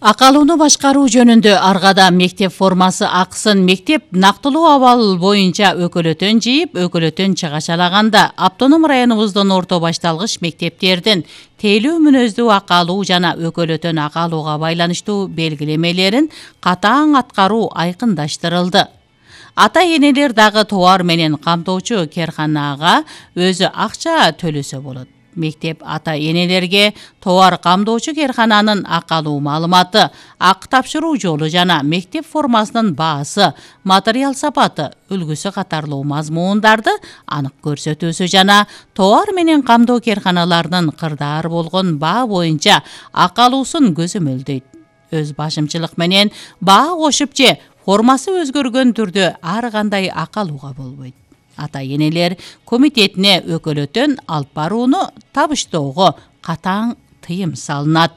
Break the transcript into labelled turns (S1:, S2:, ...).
S1: Акалууну башкаруу жөнүндө Аргада мектеп формасы акысын мектеп нактылуу абал боюнча өкөлөтөн жыйып, өкөлөтөн чыгачалаганда автоном районубуздун орто башталгыч мектептердин тейлүү мүнөздүү акалуу жана өкөлөтөн акалууга байланыштуу белгилемелерин катаң аткаруу айкындаштырылды. Ата-энелер дагы товар менен камтоочу керканага өзү акча төлөсө болот. Мектеп ата-энелерге товар камдоочу керкананын акалуу маалыматы, акы тапшыруу жолу жана мектеп формасынын баасы, материал сапаты, үлгүсү катарлуу мазмундарды анык көрсөтүүсү жана товар менен камдоо керканаларынын кырдаары болгон баа боюнча акалуусун көзөмөлдөйт. Өз башымчылык менен баа кошуп же формасы өзгөргөн түрдө ар кандай акалууга болбойт. Ата-энелер комитетине өкөлөтөн алып барууну табыштоого катаң тыйым салынат.